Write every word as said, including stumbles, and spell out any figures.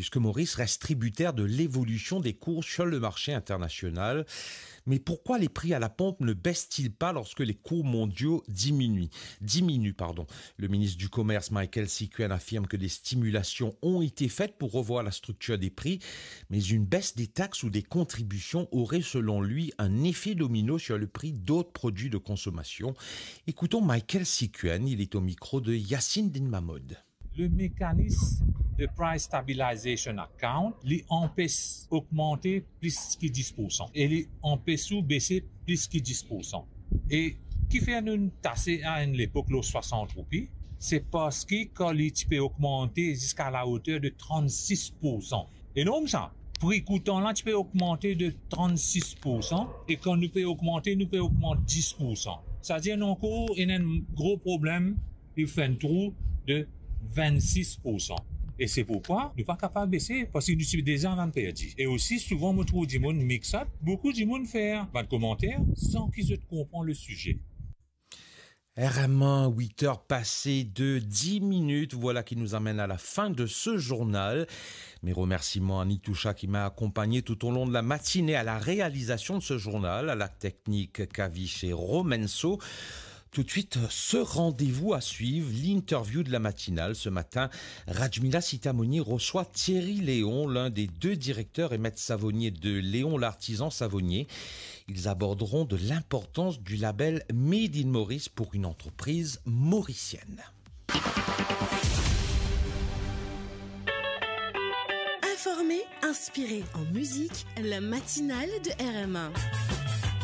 Puisque Maurice reste tributaire de l'évolution des cours sur le marché international. Mais pourquoi les prix à la pompe ne baissent-ils pas lorsque les cours mondiaux diminuent, diminuent, pardon ? Le ministre du Commerce, Michaël Ciquion, affirme que des stimulations ont été faites pour revoir la structure des prix, mais une baisse des taxes ou des contributions aurait, selon lui, un effet domino sur le prix d'autres produits de consommation. Écoutons Michaël Ciquion, il est au micro de Yacine Dinmamod. Le mécanisme de price stabilization account, li anpes ogmante plis ki dis pour san e li anpes ou bese plis ki dis pour san. E ki fer nou tase a enn lepok lor swasant roupi, se parski kan li ti pe ogmante ziska la oter de trannsis pour san. Enorm sa. Pri koutan la ti pe ogmante de trannsis pour san e kan nou pe ogmante, nou pe ogmant dis pour san. Savedir nou ankor ena enn gro problem, li fer enn trou de vennsis pour san. E se pourkwa nou pa kapav bese, parski nou ti deza inn perdi. E osi, souvan mo trouv dimoun mix up, boukou dimoun fer bann komanter san ki zot konpran le size. R M A, huit heures passées de dix minutes, voilà qui nous amène à la fin de ce journal. Mes remerciements à Nitoucha qui m'a accompagné tout au long de la matinée à la réalisation de ce journal, à la technique Kavish et Romenso. Tout de suite, ce rendez-vous à suivre, l'interview de la matinale. Ce matin, Rajmila Sitamoni reçoit Thierry Léon, l'un des deux directeurs et maîtres savonniers de Léon l'Artisan Savonnier. Ils aborderont de l'importance du label Made in Maurice pour une entreprise mauricienne. Informé, inspiré, en musique, la matinale de R M A.